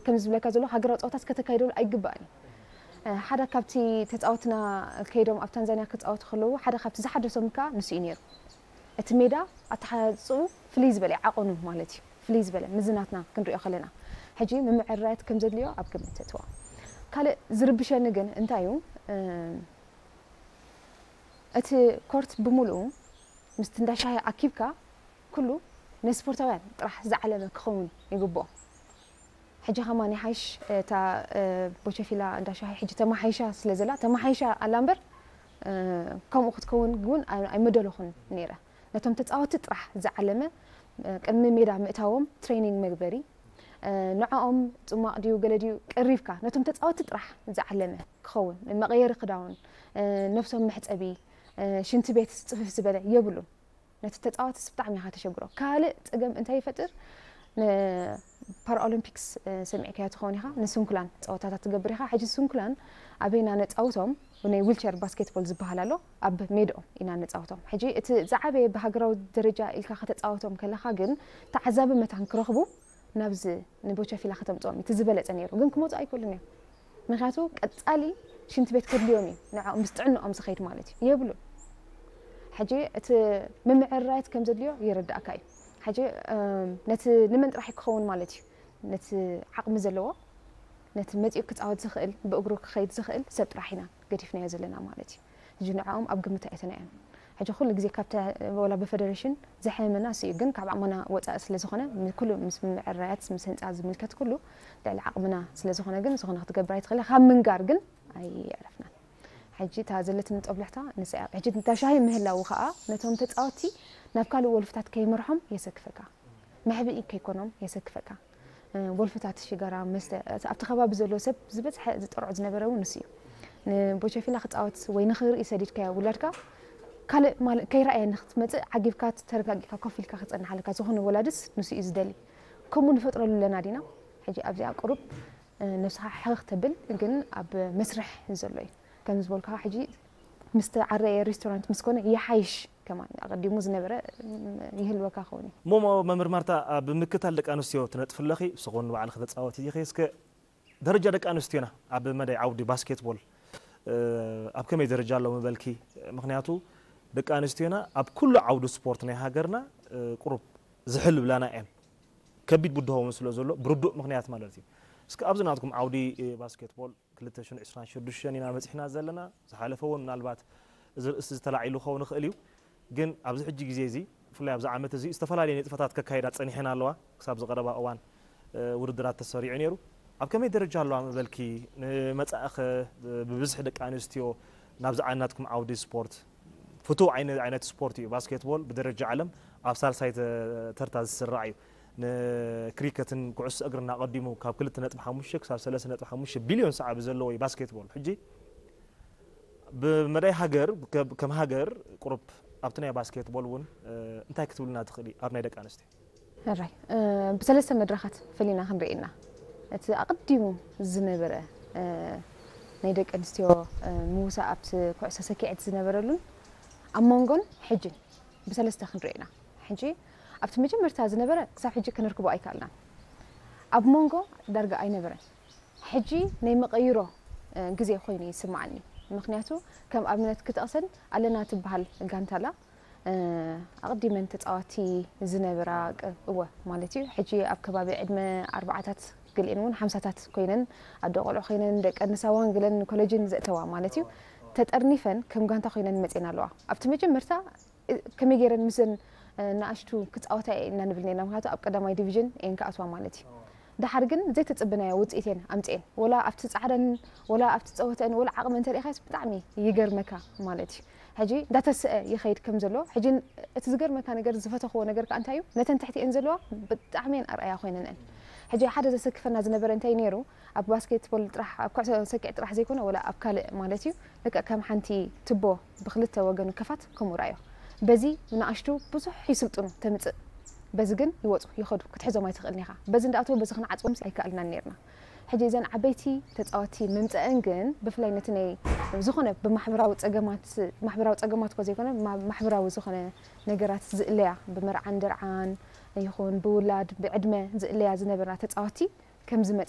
ከም ዝብለካ ዘሎ ሃገራዊ ፀወታት ከተካይደሉ ኣይግባእን እዩ። ሓደ ካብቲ ተፃወትና ከይዶም ኣብ ታንዛኒያ ክፃወቱ ከለዉ ሓደ ካብቲ ዝሓደሶም ከዓ ንሱ እዩ ነይሩ። እቲ ሜዳ ኣተሓፅኡ ፍልይ ዝበለ ዓቐኑ ማለት እዩ፣ ፍልይ ዝበለ ምዝናትና ክንሪኦ ከለና ሕጂ ምምዕራያት ከም ዘድልዮ ኣብ ግምት ተትዋ። ካልእ ዝርብሸኒ ግን እንታይ እዩ፣ እቲ ኮርት ብምሉኡ ምስቲ እንዳሻሂ ኣኪብካ ኩሉ ንስፖርታውያን ጥራሕ ዝዓለመ ክኸውን ይግብኦ። ሕጂ ከማን ይሓይሽ እታ ቦቸፊላ እንዳሻሂ ሕጂ ተማሓይሻ ስለ ዘላ ተማሓይሻ ኣላ እምበር ከምኡ ክትከውን እውን ኣይመደለኹን ነይረ። ነቶም ተፃወቲ ጥራሕ ዝዓለመ ቅድሚ ሜዳ ምእታዎም ትሬኒንግ መግበሪ ንዕኦም ፅሟቕ ድዩ ገለ ድዩ ቀሪብካ ነቶም ተፃወቲ ጥራሕ ዝዓለመ ክኸውን፣ መቐየሪ ክዳውን፣ ነብሶም መሕፀቢ፣ ሽንቲ ቤት ፅፍፍ ዝበለ የብሉን። ነቲ ተፃዋትስ ብጣዕሚ ኢኻ ተሸግሮ። ካልእ ፀገም እንታይ ይፈጥር? ንፓራኦሎምፒክስ ሰሚዕካዮ ትኸውን ኢኻ፣ ንስንኩላን ፀወታታት ትገብር ኢኻ። ሕጂ ስንኩላን ኣበይና ነፃውቶም? ናይ ዊልቸር ባስኬትቦል ዝበሃል ኣሎ፣ ኣብ ሜድኦም ኢና ነፃውቶም። ሕጂ እቲ ዝዓበየ ብሃገራዊ ደረጃ ኢልካ ከተፃወቶም ከለኻ ግን ተዓዛቢ መታን ክረኽቡ ናብዚ ንቦቸፊላ ከተምፅኦም እቲ ዝበለፀ ነይሩ፣ ግን ክመፁ ኣይክእሉን እዮም። ምክንያቱ ቀፃሊ ሽንቲ ቤት ከድልዮም እዩ፣ ንዕኦም ምስ ጥዕንኦም ዝኸይድ ማለት እዩ። የብሉን። ሕጂ እቲ ምምዕራያት ከም ዘድልዮ ይርዳእካ እዩ። ሕጂ ነቲ ንመን ጥራሕ ክኸውን ማለት እዩ፣ ነቲ ዓቕሚ ዘለዎ፣ ነቲ መፂኡ ክፃወት ዝኽእል፣ ብእግሩ ክኸይድ ዝኽእል ሰብ ጥራሕ ኢና ገዲፍናዮ ዘለና ማለት እዩ። ሕጂ ንዕኦም ኣብ ግምት ኣይተናዮም። ሕጂ ኩሉ ግዜ ካብቲ ወላ ብፈደረሽን ዝሐመና እሱ እዩ፣ ግን ካብ ዓቕምና ወፃኢ ስለ ዝኾነ ኩሉ ምስ ምዕራያት ምስ ህንፃ ዝምልከት ኩሉ ልዕሊ ዓቕምና ስለ ዝኾነ ግን ዝኾነ ክትገብር ኣይትኽእል። ካብ ምንጋር ግን ኣይዕረፍናን። ሕጂ እታ ዘለትኒ ጦብላሕታ ንሳ እያ። ሕጂ እንታ ሻሂ ምህላው ከዓ ነቶም ተፃወቲ ናብ ካልእ ወልፍታት ከይመርሖም የሰክፈካ። መሕብኢ ከይኮኖም የሰክፈካ። ወልፍታት ሽጋራ መስተ ኣብቲ ከባቢ ዘሎ ሰብ ዝበዝሐ ዝጠርዖ ዝነበረ እውን ንሱ እዩ። ንቦቸፊላ ክፃወት ወይ ንኽርኢ ሰዲድካዮ ውላድካ ካልእ ማለት ከይረኣየ ንክትመፅእ ዓጊብካ ተረጋጊእካ ኮፍ ኢልካ ክፀንሓልካ ዝኾነ ወላድስ ንሱ እዩ ዝደሊ። ከምኡ ንፈጥረሉ ኣለና ዲና? ሕጂ ኣብዚኣ ቁሩብ ነብስኻ ሕኽኽ ተብል ግን ኣብ መስርሕ ዘሎ እዩ። ከም ዝበልኩኻ ሕጂ ምስ ተዓረየ ሬስቶራንት ምስ ኮነ ይሓይሽ ከማን ኣቐዲሙ ዝነበረ ይህልወካ ክኸውን እዩ። እሞ መምህር ማርታ ኣብ ምክታል ደቂ ኣንስትዮ ትነጥፊ ኣለኺ፣ ንስኺ እውን ንባዕልኺ ተፃወቲ ኢኺ። እስከ ደረጃ ደቂ ኣንስትዮና ኣብ መዳይ ዓውዲ ባስኬትቦል ኣብ ከመይ ደረጃ ኣሎ ምበልኪ? ምኽንያቱ ደቂ ኣንስትዮና ኣብ ኩሉ ዓውዲ ስፖርት ናይ ሃገርና ቁሩብ ዝሕል ብላና እየን። ከቢድ ብድሆ እውን ስለ ዘሎ ብርዱእ ምኽንያት ማለት እዩ። እስከ ኣብዚ ናትኩም ዓውዲ ባስኬትቦል ክልተ ሽሕን ዕስራን ሽዱሽተን ኢና በፂሕና ዘለና። ዝሓለፈ እውን ምናልባት እዚ ርእሲ ዝተላዒሉ ክኸውን ይኽእል እዩ። ግን ኣብዚ ሕጂ ግዜ እዚ ብፍላይ ኣብዚ ዓመት እዚ ዝተፈላለዩ ንጥፈታት ከካይዳ ፀኒሐን ኣለዋ። ክሳብ ዝቐረባ እዋን ውድድራት ተሰሪዑ ነይሩ። ኣብ ከመይ ደረጃ ኣለዋ ምበልኪ? ንመፃእኸ ብብዝሒ ደቂ ኣንስትዮ ናብዚ ናትኩም ዓውዲ ስፖርት ፍቱው ዓይነት ስፖርት እዩ። ባስኬትቦል ብደረጃ ዓለም ኣብ ሳልሳይ ተርታ ዝስራዕ እዩ። ንክሪከትን ኩዕሶ እግርን ኣቐዲሙ ካብ ክልተ ነጥቢ ሓሙሽተ ክሳብ ሰለስተ ነጥቢ ሓሙሽተ ቢልዮን ሰዓቢ ዘለዎ እዩ ባስኬትቦል። ሕጂ ብመዳይ ሃገር ከም ሃገር ቁሩብ ኣብቲ ናይ ባስኬትቦል እውን እንታይ ክትብልና ትኽእሊ ኣብ ናይ ደቂ ኣንስትዮ? ሕራይ ብሰለስተ መድረኻት ፈሊና ክንርኢ ኢና። እቲ ኣቐዲሙ ዝነበረ ናይ ደቂ ኣንስትዮ ምውሳእ ኣብቲ ኩዕሶ ሰኪዐት ዝነበረሉን ኣብ መንጎን ሕጅን ብሰለስተ ክንርኢ ኢና። ሕጂ ኣብቲ መጀመርታ ዝነበረ ክሳብ ሕጂ ከነርክቦ ኣይከኣልናን። ኣብ መንጎ ዳርጋ ኣይነበረን። ሕጂ ናይ መቐይሮ ግዜ ኮይኑ ይስምዓኒ። ምኽንያቱ ከም ኣብነት ክጠቕሰን ኣለና ትበሃል ጋንታ ኣላ። ኣቐዲመን ተፃዋቲ ዝነበራ እወ ማለት እዩ። ሕጂ ኣብ ከባቢ ዕድመ ኣርባዓታት ገሊአን እውን ሓምሳታት ኮይነን ኣደ ቆልዑ ኮይነን ደቂ ኣንሳዋን ገለን ኮለጅን ዘእተዋ ማለት እዩ። ተጠርኒፈን ከም ጋንታ ኮይነን መፅየን ኣለዋ። ኣብቲ መጀመርታ ከመይ ገይረን ምስን ንኣሽቱ ክፃወታ እየ ኢና ንብል ነርና፣ ምክንያቱ ኣብ ቀዳማይ ዲቪዥን እየን ክኣትዋ ማለት እዩ። ደሓር ግን ዘይተፅብናዮ ውፅኢት እየን ኣምፅኤን። ወላ ኣብቲ ፃዕረን ወላ ኣብቲ ፀወተን ወላ ዓቕሚ እንተሪኢኻስ ብጣዕሚ ይገርመካ ማለት እዩ። ሕጂ እንዳተስአ ይኸይድ ከም ዘሎ ሕጂ እቲ ዝገርመካ ነገር ዝፈተኽዎ ነገር ከዓ እንታይ እዩ፣ ነተን ትሕቲኤን ዘለዋ ብጣዕሚ እየን ኣርኣያ ኮይነን እየን። ሕጂ ሓደ ዘሰክፈና ዝነበረ እንታይ ነይሩ፣ ኣብ ባስኬትቦል ጥራሕ ኣብ ኩዕሶ ሰኪዕ ጥራሕ ዘይኮነ ወላ ኣብ ካልእ ማለት እዩ ልክዕ ከም ሓንቲ ትቦ ብክልተ ወገኑ ከፋት ከምኡ ራእዮ። በዚ ንኣሽቱ ብዙሕ ይስልጥኑ ተምፅእ፣ በዚ ግን ይወፁ ይኸዱ ክትሕዞም ኣይትኽእልን ኢኻ። በዚ እንዳኣተው በዚ ክንዓፅዎም ኣይከኣልናን ነርና። ሕጂ እዘን ዓበይቲ ተፃወቲ ምምፀአን ግን ብፍላይ ነቲ ናይ ዝኾነ ብማሕበራዊ ፀገማት ማሕበራዊ ፀገማት እኮ ዘይኮነ ማሕበራዊ ዝኾነ ነገራት ዝእለያ ብመርዓን ደርዓን ይኹን ብውላድ ብዕድመ ዝእለያ ዝነበራ ተፃወቲ ከም ዝመጸ